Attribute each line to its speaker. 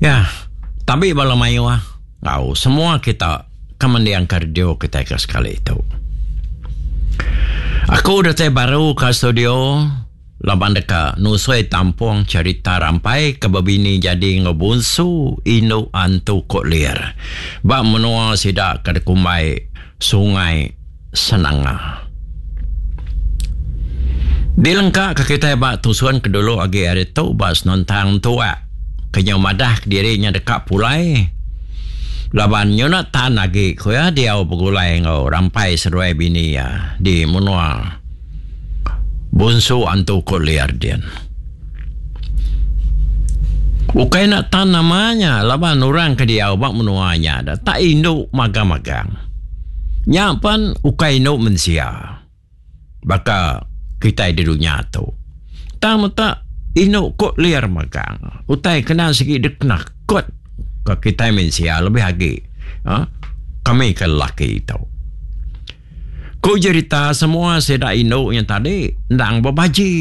Speaker 1: Ya, tabi bala mayuh enggau semua kita ke mendingka radio kitai ke sekali tu. Aku datai baru ka studio laban deka nusui tampung cherita rampai ke bebini jadi enggau bunsu indu antu Kok Lir ba menua sida ke dikumbai Sungai Senanga. Dilengka ke kitai ba tusun ke dulu agi ari tu ba senentang tuak ke nyau madah kediri nya deka pulai laban nyuna tan agi ku iya diau begulai enggau rampai seduai bini iya di menua Bunsu Antu Kok Liar din. Ukai enda tan nama nya laban orang ke diau ba menua nya da tak indu magang-magang. Nya pen ukai indu mensia baka kitai di dunya tu. Tang meta indu ko liar magang. Utai kena sigi dikenakut ka kitai mensia lebih agi uhh kami ke lelaki tu. Ku jerita semua sida indu nya tadi endang bebaji.